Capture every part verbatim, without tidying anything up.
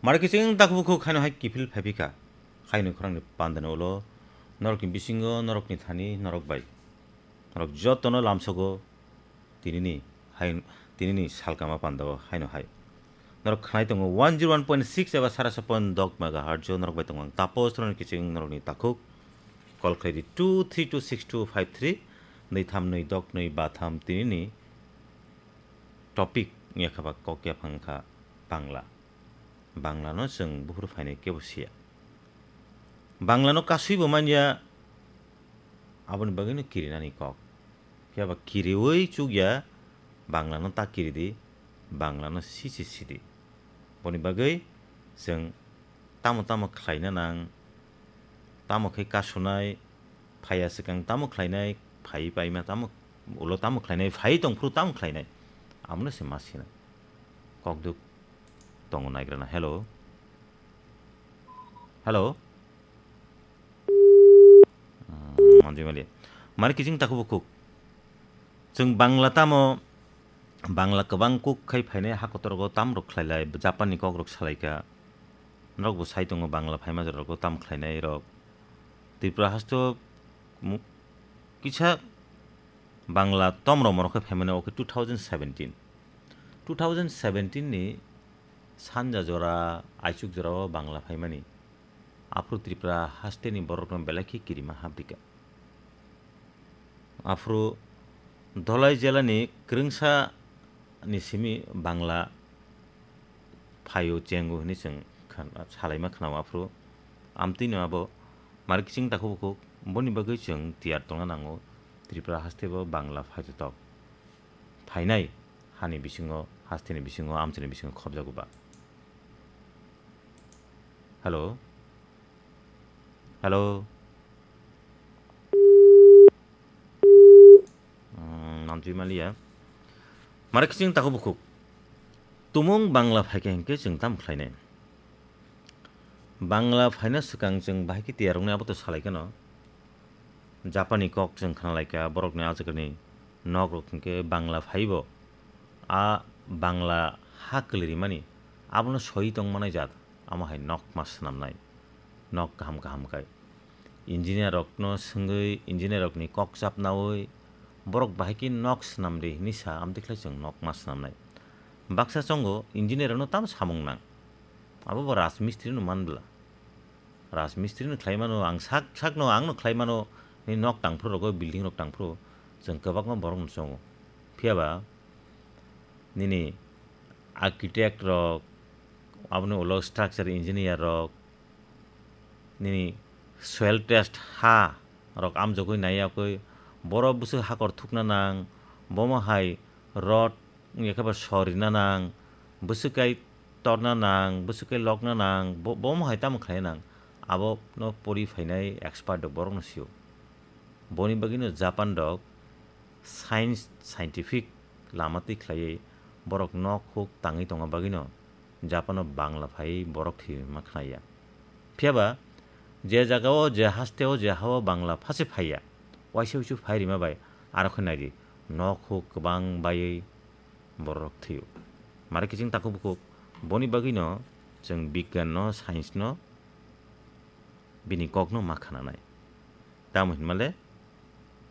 Mare kiching takhuk bukhuk haino hai kiphil phaiphi kha. Haino khorangni pandani ulo norokni bisingo norokni thani norok bai. Norok jotono lamsogo tinini hai, tinini salkama pandao haino hai. Norok khnai tongo one zero one point six eba sara sa point dok megahertz o norok bai tongo ang Tapos Roni kiching norokni takhuk. Call khlai di two three two six two five three, nwi tham nwi dok nwi ba tham tinini topic wngya kha ba kok yaphang kha Bangla. Bangla no chwng buphuru phainai kebo siya. Bangla no kasui bo manya, aboni bagwi no kirinani kok. Phiya ba kiriwi chukya, Bangla no ta kiri di, Bangla no sisi sidi. Boni bagwi chwng tamo tamo khlaina nang, tamo khe kasunai, phaiya swkang tamo khlainai, phai paima tamo, ulo tamo khlainai, phai tongphuru tamo khlainai. Amono se ma sinai. Kokduk tongo naigrana. Hello. Hello. Hmm, manjui mali. Mari kiching takhuk bukhuk. Chwng Bangla tamo, Bangla kwbang kuk khai phainai ha kotor go tam rok khlai lai, Japan ni kok rok salai kha. Norok bo sai tongo Bangla phaima jora rok tam khlainai rok. Tripura hasto mu-, kisa Bangla tom rok morok khai phaimani o khe two thousand seventeen. Two thousand seventeen ni sanja jora, aichuk jora o Bangla phaimani. Aphuru Tripura haste ni borok no belai khe kirima hapdika. Aphuru Dholai jela ni kwrwngsa ni simi Bangla phaio chengo hwnwi chwng khan-, salaima khwnao aphuru. Amtwino abo mari kiching takhuk bukhuk, boni bagwi chwng tiyar tongna nango Tripura haste bo Bangla phaitotok. Phainai hani bisingo, hasteni bisingo, amchaini bisingo khopjago ba. Hello? Hello? Hmm, namtwi maliya. Mare kiching takhuk bukhuk. Tumung Bangla phaikha hinkhe chwng tam khlainai. Bangla phaina swkang chwng bahai khe tiyar wngnai abo to salai kheno. Japani kok chwng khna lai kha, borokni ajagani nok rok hinkhe Bangla phaibo. A Bangla ha kwlwi rimani abono soi tong manai jat, amo hai nok ma swnamnai, nok kaham kaham khai. Engineer rokno swngwi, engineer rokni kok chapnawi borok bahai khe nok swnam di hinwi sa, amtwi khlai chwng nok ma swnamnai. Baksa chongo engineer rokno tamo samung nang, abo bo rajmistri no man bwla. Rajmistri no khlai mano, ang sak sak no ang no khlai mano, ni nok tangphuru rogo, building rok tangphuru, chwng kwbangma borok no chongo. Phiya ba nini architect rok, aboni ulo structure engineer rok, nini soil test ha rok amjogwi nai yakwi, boro bwswk hakor thukna nang, bomo hai rod wngya khe ba sor rina nang, bwswk kai torna nang, bwswk kai lokna nang, bo-, bomo hai tamo khlai nang, abo no pori phainai expert rok borok no sio. Boni bagwi no Japan rok science, scientific lama twi khlaiwi borok nok huk tangwi tongma bagwino Japan-o Bangla phaiwi borok thwi rwma khna ya. Phiya ba je jaga-o, je haste-o, je ha-o Bangla phase phai ya, waisa wuisu phai rima bai aro khe nai di, nok huk kwbang baiwi borok thwi-o. Mare kiching takhuk bukhuk, boni bagwino chwng bigyan-no, science-no, bini kokno ma khnanai. Tamo hinmale,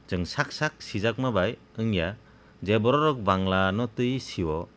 chwng sak sak sijakma bai wngya je bororok Bangla no twi sio,